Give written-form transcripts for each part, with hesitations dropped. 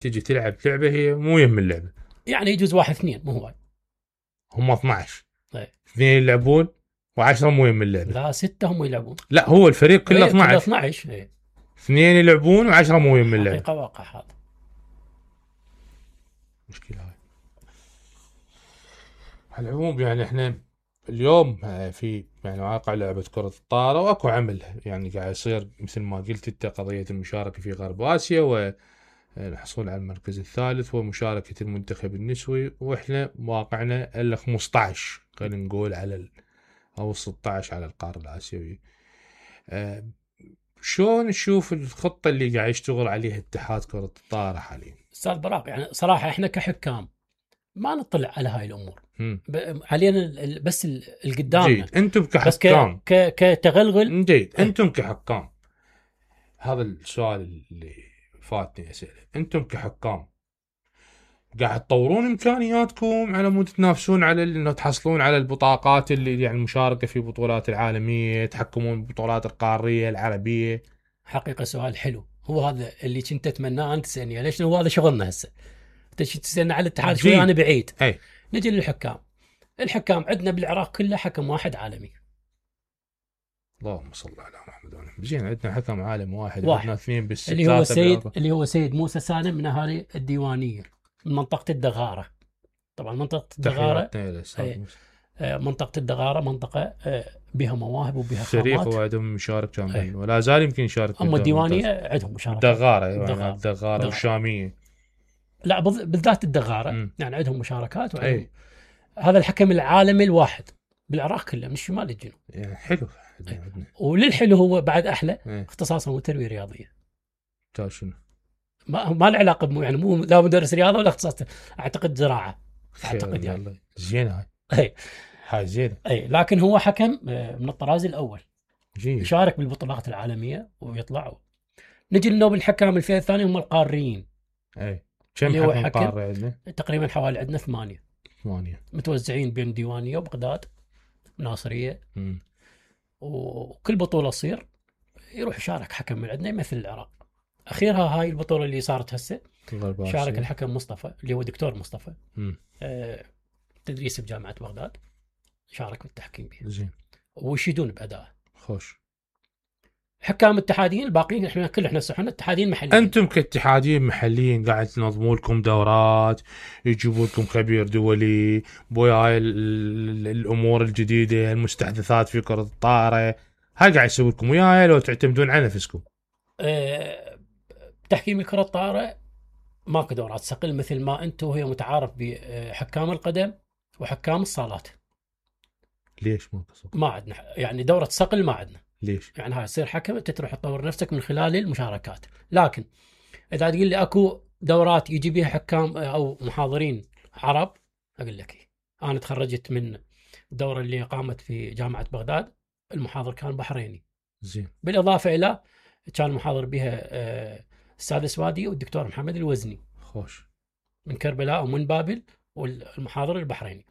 تجي تلعب لعبه هي مو يم اللعبه، يعني يجوز 1-2 مو هواي. هم 12 ايه 2 يلعبون و10 مو يم اللعبه. لا 6 هم يلعبون. لا هو الفريق كله 12. كله 12. ايه 2 يلعبون و10 مو يم اللعبه. حقيقه واقع هذا. مشكله هاي. على العموم يعني احنا اليوم في يعني واقع لعبة كرة الطائرة واكو عمل يعني قاعد يصير مثل ما قلت انت، قضية المشاركة في غرب اسيا والحصول على المركز الثالث ومشاركة المنتخب النسوي، واحنا واقعنا الا 15 خلينا نقول على او 16 على القارة الاسيوية. شلون نشوف الخطة اللي قاعد يشتغل عليها اتحاد كرة الطائرة حاليا؟ استاذ براق يعني صراحة احنا كحكام ما نطلع على هاي الامور. مم. علينا بس القدامنا. جيد انتم كحكام كتغلغل. جيد انتم كحكام، هذا السؤال اللي فاتني اساله. انتم كحكام قاعد تطورون امكانياتكم على مود تنافسون على انه تحصلون على البطاقات اللي يعني المشاركه في بطولات العالميه، تحكمون بالبطولات القاريه العربيه؟ حقيقة سؤال حلو، هو هذا اللي كنت اتمناه انت تسالني ليش هو هذا شغلنا هسه. انت تسالني على الاتحاد شوي انا بعيد. أي. نجي للحكام. الحكام عندنا بالعراق كله حكم واحد عالمي. اللهم صل على محمد وعلى زين. عندنا حكم عالم واحد. عندنا اثنين بالست اللي هو سيد موسى سالم من اهالي الديوانيه من منطقه الدغاره. طبعا منطقه الدغاره منطقه الدغاره منطقه بها مواهب وبها خامات. فريق وعندهم مشارك كان ولا زال يمكن يشارك. اما الديوانيه عندهم مشاركه. الدغاره والشاميه. لا بالذات الدغاره يعني عندهم مشاركات وعندهم هذا الحكم العالمي الواحد بالعراق كله من الشمال للجنوب. يعني حلو. وللحلو هو بعد احلى اختصاصه تربيه رياضيه. شنو؟ ما له علاقه يعني مو لا مدرس رياضه ولا اختصاص، اعتقد زراعه. اعتقد يعني زين هاي زين. لكن هو حكم من الطراز الاول. جيد. يشارك بالبطولات العالميه ويطلعوا. نجي لنوب الحكام الفئه الثانيه هم القاريين. كم حكم قاري عندنا؟ تقريبا حوالي عندنا 8 متوزعين بين ديوانيه وبغداد ناصريه. وكل بطوله تصير يروح يشارك حكم من عندنا يمثل العراق. اخيرها هاي البطوله اللي صارت هسه شارك الحكم مصطفى اللي هو دكتور مصطفى تدريس بجامعه بغداد، شارك بالتحكيم بها. زين. ويشيدون بادائه. خوش. حكام اتحاديين الباقيين احنا صحنا اتحاديين محليين. انتم كاتحاديين محليين قاعد تنظموا لكم دورات، يجيبوا لكم خبير دولي بويا هاي الامور الجديده المستحدثات في كره الطائره، هاي قاعد يسوي لكم وياها لو تعتمدون على نفسكم؟ تحكيم كره الطائره ماكو دورات صقل مثل ما انتم وهي متعارف بحكام القدم وحكام الصالات. ليش ماكو صقل؟ ما عندنا يعني دوره صقل ما عندنا. ليش؟ يعني هاي تصير حكم انت تروح تطور نفسك من خلال المشاركات. لكن اذا تقول لي اكو دورات يجي بها حكام او محاضرين عرب، اقول لك انا تخرجت من الدوره اللي قامت في جامعه بغداد، المحاضر كان بحريني. زين. بالاضافه الى كان محاضر بها السادة سوادي والدكتور محمد الوزني. خوش. من كربلاء ومن بابل، والمحاضر البحريني.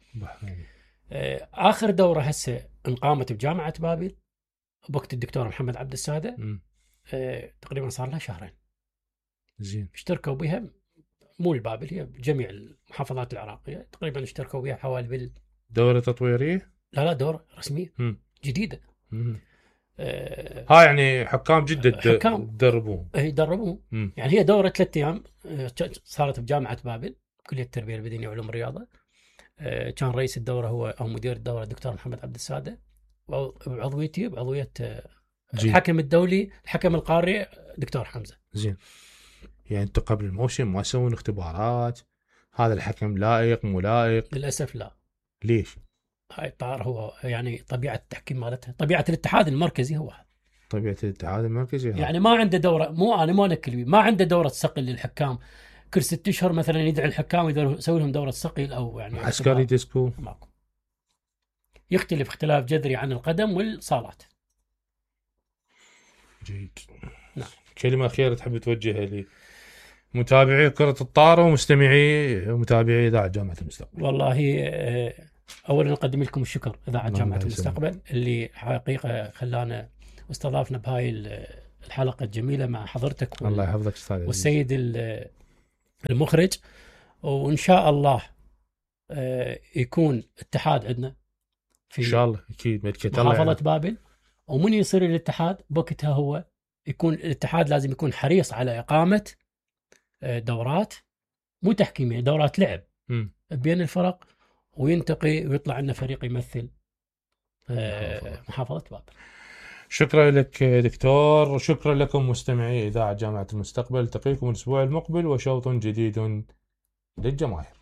اخر دوره هسه انقامت بجامعه بابل بوقت الدكتور محمد عبد السادة. تقريبا صار لها 2 شهر. زين. اشتركوا بها مو البابل، هي جميع المحافظات العراقيه تقريبا اشتركوا بها حوالي دوره تطويريه؟ لا دوره رسميه جديده. ها يعني حكام جدة تدربوهم. يدربوهم. يعني هي دوره 3 أيام صارت بجامعه بابل كليه التربيه البدنيه وعلوم الرياضه. كان رئيس الدوره هو او مدير الدوره الدكتور محمد عبد السادة، وعضويتي بعضويه الحكم الدولي الحكم القاري دكتور حمزه. زين. يعني انتم قبل الموسم ما تسوون اختبارات هذا الحكم لائق مو لائق؟ للاسف لا. ليش؟ هاي الطائره هو يعني طبيعه التحكيم مالتها طبيعه الاتحاد المركزي هو طبيعه الاتحاد المركزي يعني ما عنده دوره. مو نكل ما عنده دوره صقل للحكام كل 6 أشهر مثلا يدعي الحكام يسوي لهم دوره صقل او يعني عسكري ديسكو. ماكو. يختلف اختلاف جذري عن القدم والصالات. جيد. نعم. كلمه اخيره تحب توجهها لي متابعي كره الطائره ومتابعي اذاعه جامعه المستقبل؟ والله اولا نقدم لكم الشكر اذاعه جامعه المستقبل اللي حقيقه خلانا واستضافنا بهاي الحلقه الجميله مع حضرتك الله يحفظك استاذ والسيد المخرج. وان شاء الله يكون اتحاد عندنا في ان شاء الله اكيد محافظة بابل. ومن يصير الاتحاد بوقتها هو يكون الاتحاد لازم يكون حريص على إقامة دورات مو تحكيمية، دورات لعب بين الفرق، وينتقي ويطلع لنا فريق يمثل محافظة بابل. شكرا لك دكتور، شكرا لكم مستمعي إذاعة جامعة المستقبل. التقيكم الأسبوع المقبل وشوط جديد للجماهير.